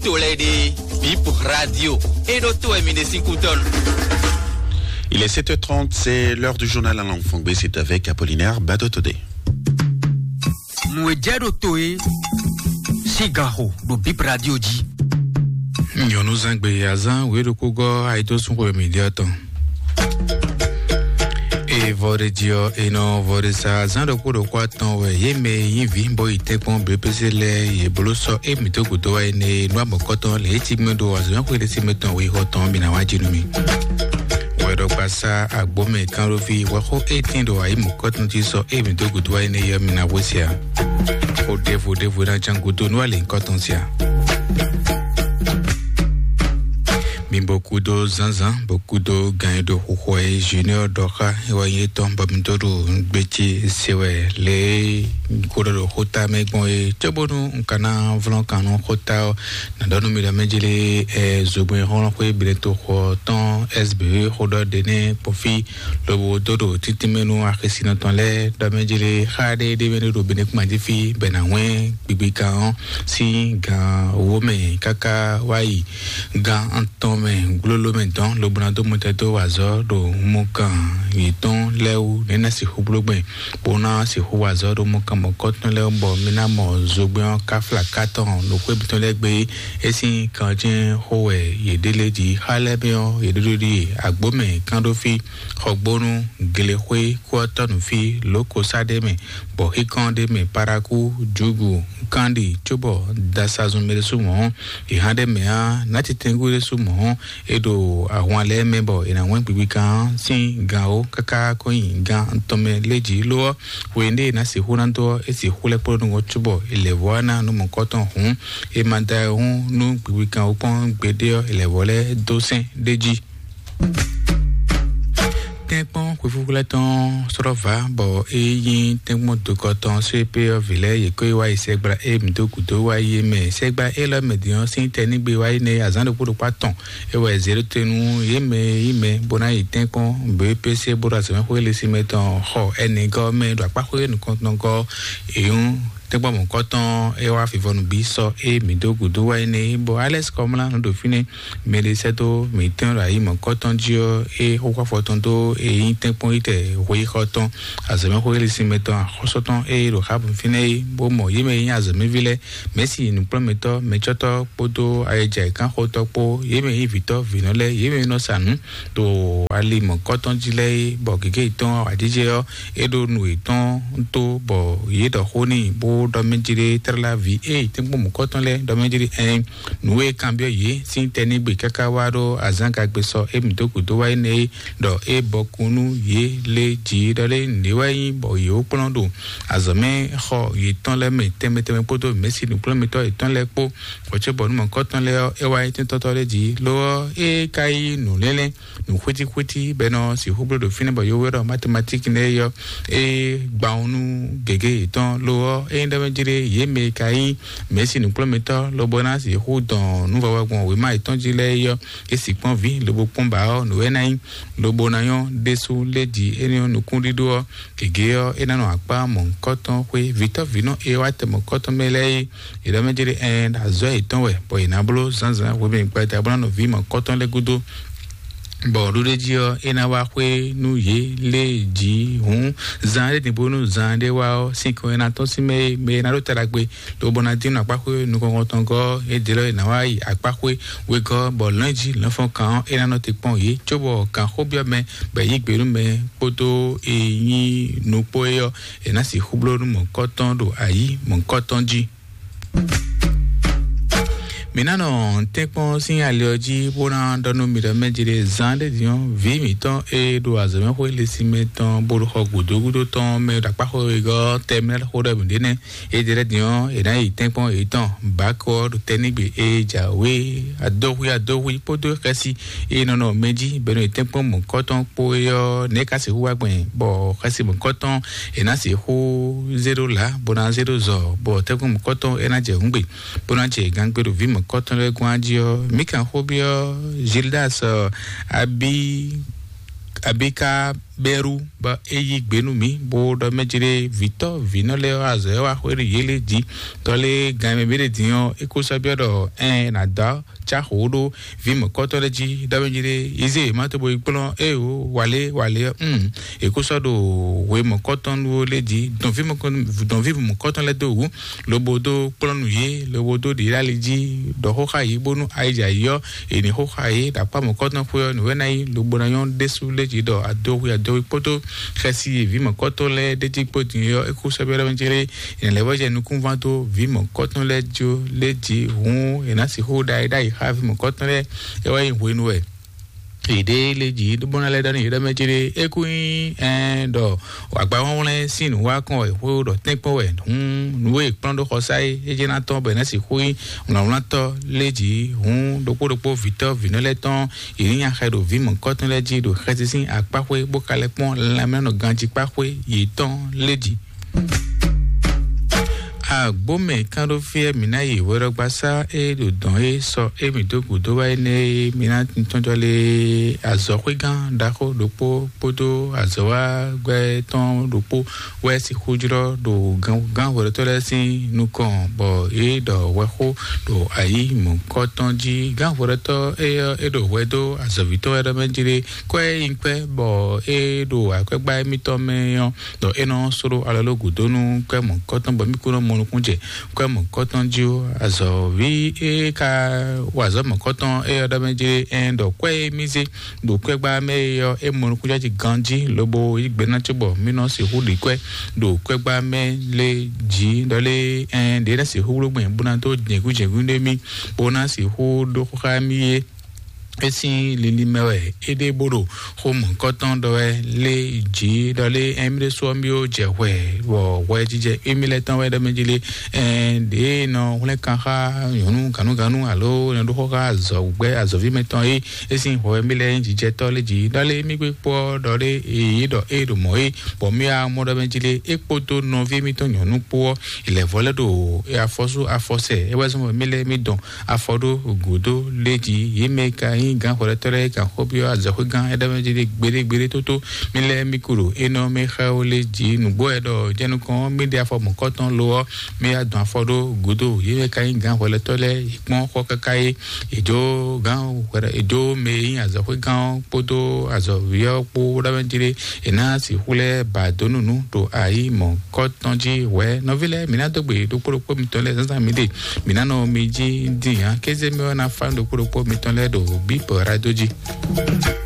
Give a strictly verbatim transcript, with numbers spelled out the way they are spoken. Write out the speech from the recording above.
To lɛ́ɛ ɖe, Bip Radio, e ɖo to wɛ mi ɖe sín kútɔ́ nú. Il est sept heures trente, c'est l'heure du journal en langue fongbe, c'est avec Apollinaire Badotodé. Nú e jɛ ɖo to e, sín ganxo ɖo Bip Radio jí. Nyɔ̌nuzangbe azán wěɖokpógɔ́ ayidósúnxwe mǐɖyɔ́ tɔn. Evɔ ɖe jí ɔ́, è nɔ vɔ ɖe sa azán ɖokpó ɖokpó atɔn wɛ yě mɛ e nyí vǐ bó yi tɛ́nkpɔ́n B P C lɛ́ɛ yě bló sɔ́ émí dó gǔdo wá énɛ́ e nú amɔ̌kɔ́tɔn lě e cí gbɛ́ ɖo azɔ̌mɛxwé ɖé sí mɛ tɔn weyíxɔ tɔn ɔ́ bǐ ná wá jí nú mì. Wɛɖɔgbasá agbǒmɛ kánɖóví wɛxó étín ɖo ayǐ mɔ̌kɔ́tɔn jí sɔ́ émí dó gǔdo wá énɛ́ yɔ́ mì ná hwesí ǎ. Xó ɖěvo ɖěvo ná cán gúdo nú alǐ nyǐkɔ tɔn sia. Mi bó kúdó zǎnzǎn, bó kúdó gan e ɖo xuxɔ e Junior ɖɔ xá e wɛ nyí étɔn bɔ mi dó ɖo nǔgbé ce se wɛ lě e un ko ɖɔ ɖo xóta mɛ gbɔn é, cóbónú un ka ná vlɔ́n kan nú xóta ɔ́, nǎ ɖɔ nú mi ɖɔ mɛ jlé ɛ zogbɛ́n xɔlɔ́xwé Benetoxɔ tɔn S B xó ɖɔ ɖé nɛ́ kpɔ́n fí lobo dó ɖo títínmɛ nú axisínɔ tɔn lɛ́ɛ ɖɔ mɛ jlé xá ɖé ɖé mɛ ɖo Benekuma jí fí bɛ nǎ hwɛ́n gbigbikan ɔ́ sín gan wǒ mɛ káká wá yi gan atɔn mɛ glóló mɛ dɔn lobo ná dó mɔtɛn dó wa azɔ̌ ɖo mɔkan yětɔn lɛ́ɛ wú nɛ̌ ná sixú bló gbɛn bó ná sixú wa azɔ̌ ɖo mɔkan mɔ̌kɔtɔn lɛ́ɛ wú bɔ mi ná mɔ zogbɛ́n ɔ́ káfla kátɔn ɖo xwé mitɔn lɛ́ɛ gbé é sín kanjɛ́n xó wɛ yě ɖe lé jí xá lɛ́ɛ mɛ ɔ́ yě ɖo ɖiɖi agbǒ mɛ kánɖófí xɔgbónú glexwé kú ɔ́ tɔ́ nǔ fí lǒ ko sá ɖ'é mɛ bɔ xíkɔ́n ɖ'é mɛ parakú jugu kanɖi cóbɔ dasazun mɛ ɖésú mɔ̌ ɔ́ è hán ɖ'é mɛ ǎ nátitɛngú ɖésú mɔ̌ ɔ́ è ɖo ahwan lɛ́ɛ mɛ bɔ è nǎ wɛ́n gbigbikan ɔ́ sín gan ó káká kó nyi gan tɔn mɛ lé jí ló ɔ́ hwe ɖé è nǎ sixú ná dó ɔ́ é sixú lɛ́ kplɔ́ nú ɔ́ cóbɔ è lɛ̌ vɔ́ ná nú mɔ̌kɔ́tɔn hǔn è ma da ɛ hún nú gbigbikan ó kpɔ́n gbeɖé ɔ́ è lɛ̌ vɔ́ lɛ́ dó sɛ́n ɖ'é jí. Tɛ́nkpɔ́n xwefúxwlɛ́ tɔn sɔ́ vǎ bɔ é nyí tɛ́nkpɔ́n dokɔ tɔn só e pé ɔ́ vǐ lɛ́ɛ yě kó yi wá yi sɛgbla e mǐ dó gǔdo wá yi é mɛ. Sɛgbla élɔ́ mɛ din ɔ́ sín tɛnígbe wá yi nɛ́ azǎn ɖokpó ɖokpó atɔn é wɛ zě ɖó te nú yě mɛ e nyí mɛ bó ná yi tɛ́nkpɔ́n bó é pé sé bó ɖo azɔ̌mɛxwé lɛ́ɛ sín mɛ tɔn xɔ ɛnɛgɔ́ mɛ ɖo akpáxwé nukɔntɔn gɔ́. È nyú tɛ́nkpɔ́n mɔ̌kɔtɔn é wá fífɔnu bí sɔ́ é mǐ dó gǔdo wá yi nɛ́ bɔ Alɛ́si Kɔmlá nɔ ɖo fínɛ́. Mɛɖé sɛ́ dó mǐtɔn ɖo ayi mɔ̌kɔtɔn jí ɔ́, é xó xó afɔ tɔn dó é nyí tɛ́nkpɔ́n yi tɛ hweyíxɔ tɔn, azɔ̌mɛxwé lísínmɛ tɔn, axɔ́sɔ tɔn é ɖo Xabun fínɛ́ é, bó mɔ yě mɛ e nyí azɔ̌mɛví lɛ́ɛ, mɛ̌si nǔkplɔ́nmɛtɔ́, mɛcɔ́tɔ́ kpódó ayɛjɛ kánxɔtɔ́ kpó, yě mɛ e nyí vǐtɔ́, vǐnɔ lɛ́ɛ, yě mɛ e nɔ sa nǔ ɖo ali mɔ̌kɔtɔn jí lɛ́ɛ é, bɔ gěgé yětɔn awǎjijɛ ɔ́, é ɖo nǔ yětɔn tó, bɔ yě ɖɔ xó n'i, bó ɖɔ mɛ jí ɖé tlá ví é tɛ́nkpɔ́n mɔ̌kɔtɔn lɛ́ɛ ɖɔ mɛ jí ɖé ɛn nǔ e kanbyɔ́ yě sín tɛnígbe káká wá ɖó azǎngagbe sɔ émí dó gǔdo wá énɛ́ é, ɖɔ é bɔkun nú yě lé jǐ ɖɔ lé nǔɖé wɛ nyí bɔ yě wó kplɔ́n ɖo azɔ̌ mɛ xɔ yětɔn lɛ́ɛ mɛ tɛnmɛ tɛnmɛ kpódó mɛ̌si nǔkplɔ́nmɛtɔ́ yětɔn lɛ́ɛ kpó. Hwɛ̌cóbɔ nú mɔ̌kɔtɔn lɛ́ɛ ɔ́, é wá nyí tɛ́ntɔ́tɔ́ lɛ́ɛ jí, lo ɔ́, é ka yí nǔlélɛ́ nǔ xwítíxwítí bɔ è nɔ sixú bló ɖo fínɛ́ bɔ yówé ɖɔ matematíki nɛ́ é ɔ́, é gban nú gěgé yětɔn. Lo ɔ́, é nyí ɖɔ mɛ jlé yě mɛ e ka nyí mɛ̌si nǔkplɔ́nmɛtɔ́ lobo ná sixú dɔn nǔvɔvɔ gbɔn wěma yětɔn jí lɛ́ɛ é ɔ́, é sixú kpɔ́n vǐ lobo kpɔ́n ba ɔ́, nǔ e ná nyí lobo ná nyɔ́ ɖésú lé jí énɛ́ ɔ́ nukúnɖíɖó ɔ́, gěgé ɔ́, é ná nɔ akpá mɔ̌hunkɔtɔn xwé vǐtɔ́vǐnɔ e wá tɛ mɔ̌hunkɔtɔn mɛ lɛ́ɛ é. È ɖɔ mɛ jlé ɛn ɖo azɔ̌ yětɔn wɛ, bɔ è nǎ bló zǎnzǎn hwemɛ gbada bó ná nɔ ví mɔ̌hunkɔtɔn lɛ́ɛ gúdo. Bɔ ɖuɖéjí ɔ́, é ná wá xwé nú yě lé jí hǔn zan ɖé din bónú zan ɖé wá ɔ́, sin kɔn e ná tɔ́n sín mɛ e mɛ e ná ɖó ta ɖagbe, lobo ná dín nɔ akpáxwé nukɔn tɔn gɔ́ é dě lɔ e ná wá yi akpáxwé wegɔ́, bɔ lɔ̌nyijǐ lɔ̌nfɔ́n kan ɔ́, é ná nɔ te kpɔ́n yě, cóbɔ kan xó byɔ́ mɛ bɔ è yí gbe nú mɛ kpódó e nyí nukpó é ɔ́, è nǎ sixú bló nú mɔ̌hunkɔtɔn ɖo ayǐ mɔ̌hunkɔtɔn jí. Mi ná nɔ tɛ́nkpɔ́n sín ali ɔ́ jí bó ná ɖɔ nú mi ɖɔ mɛ jí ɖé zan ɖé din ɔ́, vǐ mǐtɔn e ɖo azɔ̌mɛxwé lɛ́ɛ sín mɛ tɔn bó ɖo xɔ gǔdo gúdo tɔn mɛ ɖo akpáxwé wegɔ́ tɛmɛ xó ɖɔ mǐ ɖe nɛ́. É ɖe lɛ́ɛ din ɔ́, è nǎ yi tɛ́nkpɔ́n yětɔn bǎkó ɔ́ ɖo tɛ́ nígbe e jǎwe adóhwí adóhwí kpódó xɛsi e nɔ nɔ mɛ jí bɛ́nú tɛ́nkpɔ́n mɔ̌kɔtɔn kpó é ɔ́, nɛ̌ ka sixú wá gbɛn bɔ xɛsi mɔ̌kɔtɔn è nǎ sixú zé ɖó lǎ bó ná zé ɖó zɔ bɔ tɛ́nkpɔ́n mɔ̌kɔtɔn é ná jɛ hǔngbe bó ná jɛ gangbe ɖo vǐ mɔ̌kɔtɔn lɛ́ɛ gɔ́n jí ɔ́, mǐ kan xó byɔ́ Gildas Abi Abika Bɛ́rú bɔ é yí gbe nú mǐ bó ɖɔ mɛ jí ɖé vǐtɔ́ vǐnɔ lɛ́ɛ ɔ́ azɔ̌ e wá xwé ɖo yě lɛ́ɛ jí. Tɔ́ lé gan e mɛ mǐ ɖe din ɔ́, é kó sɔ́ byɔ́ ɖɔ ɛn è nǎ dó cá xǒ ɖó vǐ mɔ̌kɔ́tɔ́ lɛ́ɛ jí ɖɔ mɛ jí ɖé yě zé yě má tó bo yi kplɔ́n éeǒ wǎlé wǎlé ɔ́. È kó sɔ́ ɖo hwe mɔ̌kɔ́tɔn nú ó lɛ́ɛ jí dɔn vǐ mɔ̌kɔ́tɔn lɛ́ɛ dó wǔ lobo dó kplɔ́n nú yě lobo dó ɖě ɖo ali jí ɖɔ xó xá yě bónú ayǐjǎyí ɔ́ è nǐ xó xá yě ɖo akpá mɔ̌kɔ́tɔn xwé ɔ́ nǔ wɛ ná nyí lobo ná nyɔ́ ɖésú lé jí ɖɔ adoxwi adoxwi kpódó xɛsi e vǐ mɔ̌kɔ́tɔn lɛ́ɛ ɖ'é jí kpó din é ɔ́, é kú sɛ́ byɔ́ ɖɔ mɛ jí lé è nǎ lɛ́ vɔ́ jɛ nukúnván dó vǐ mɔ̌kɔ́tɔn lɛ́ɛ jó lé jí hǔn è nǎ sixú ɖa é ɖ'ayǐ xá vǐ mɔ̌kɔ́tɔn lɛ́ɛ. É wá nyí hwenu wɛ yěɖée lé jí bó ná lɛ́ ɖɔ nú yě ɖɔ mɛ jí lé é kú nyí ɛn ɖɔ agbawɔnwlɛ́n sín nǔ wá kɔn wɛ xó ɖɔ tɛ́nkpɔ́n wɛ hǔn nǔ e è kplɔ́n ɖó xɔsá é é jɛ ná tɔ́n bɔ è nǎ sixú nyí wlǎnwlántɔ́ lé jí hǔn ɖokpó ɖokpó vǐtɔ́ vǐnɔ lɛ́ɛ tɔn yě ní nya xɛ ɖo vǐ mɔ̌kɔ́tɔn lɛ́ɛ jí ɖo xɛsi sín akpáxwé bó ka lɛ́ kpɔ́n lanmɛnɔ ganjí kpáxwé yětɔn lé jí. Agbómɛ kánɖófíɛ mǐ ná yi hwɛɖɔgbasá e ɖo dɔ̌n é sɔ émí dó gǔdo wá énɛ́ é mǐ ná tɔ́njɔ lé azɔ̌xwégán ɖaxó ɖokpó kpódó azɔ̌wágbɛ́ tɔn ɖokpó wɛ sixú jlɔ́ ɖo gán hwɛɖɔtɔ́ lɛ́ɛ sín nukɔn bɔ é ɖɔ hwɛxó ɖo ayǐ mɔ̌kɔ́tɔn jí. Gán hwɛɖɔtɔ́ é ɔ́ é ɖo hwɛ dó azɔ̌ví tɔn wɛ ɖɔ mɛ jí ɖé kɔ́ é nyí kpɛ́ bɔ é ɖo akwɛ́gbá émítɔn mɛ ɔ́ ɖɔ é nɔ sló alɔ ló gǔdo nú kwɛ́ mɔ̌kɔ́tɔn bɔ mí kún nɔ mɔ nukún jɛ kwɛ́ mɔ̌kɔ́tɔn jí ó. Azɔ̌ví e ka wa azɔ̌ mɔ̌kɔ́tɔn é ɔ́ ɖɔ mɛ jí ɛn ɖɔ kwɛ́ e mì zé ɖo kwɛ́gbá mɛ é ɔ́ é mɔ nukúnjɛjí ganjí lobo yí gbe ná cóbɔ mì nɔ sixú ɖi kwɛ́ ɖo kwɛ́gbá mɛ lé jí ɖɔ lé ɛn ɖě ná sixú bló gbɛn bó ná dó jɛ̌nkú jɛ̌nkú ɖé mì bó ná sixú ɖó xó xá mì é. É sín linlin mɛ wɛ é ɖe bó ɖo xó mɔ̌kɔ́tɔn ɖɔ wɛ lé jí ɖɔ lé ɛn mì ɖésú ɔ́ mì ó jɛ hwɛ bɔ hwɛ jijɛ émí lɛ́ɛ tɔn wɛ ɖɔ mɛ jí lé ɛn ɖě nɔ hwlɛ́n kan xá nyɔ̌nu gǎnúgǎnú alo nɔ ɖó xó xá azɔ̌gbɛ́ azɔ̌ví mɛtɔn é é sín hwɛ mì lɛ́ɛ nyí jijɛtɔ́ lé jí ɖɔ lé mì gbé kpó ɔ́ ɖɔ lé èyí ɖɔ é ɖo mɔ̌ é bɔ mì wá mɔ ɖɔ mɛ jí lé é kpódó nɔví émítɔn nyɔ̌nu kpó ɔ́ è lɛ̌ vɔ lɛ́ ɖo afɔsú afɔsɛ é wɛ zɔ́n bɔ mì lɛ́ɛ mì dɔn afɔ ɖó gǔdo lé jí yě mɛ ka nyí gǎn hwɛɖɔtɔ́ lɛ́ɛ kan xó byɔ́ azɔ̌xwé gán é ɖɔ mɛ jí lé gbeɖé gbeɖé tótó mì lɛ́ɛ mì kú ɖo énɔ́ mì xá ó lé jí nǔgbó wɛ ɖɔ jɛnukɔn mì ɖe afɔ mɔ̌kɔ́tɔn lo ɔ́ mì wá dɔn afɔ ɖó gǔdo yě mɛ ka nyí gǎn hwɛɖɔtɔ́ lɛ́ɛ kpɔ́n xɔ káká é èjó gán hwɛɖɔ èjó mɛ e nyí azɔ̌xwé gán ɔ́ kpódó azɔ̌ví ɔ́ kpó ɖɔ mɛ jí lé è ná sixú lɛ́ ba dó nú nǔ ɖo ayǐ mɔ̌kɔ́tɔn jí hwɛ̌ nɔví lɛ́ɛ mǐ ná dó gbe ɖokpó ɖokpó mitɔn lɛ́ɛ zǎnzǎn mǐ ɖe mǐ ná nɔ mi jí dín ǎ kéze mɛ ɔ́ ná fá ɖokpó ɖokpó mitɔn lɛ́ɛ ɖo bíbɔ rádo jí.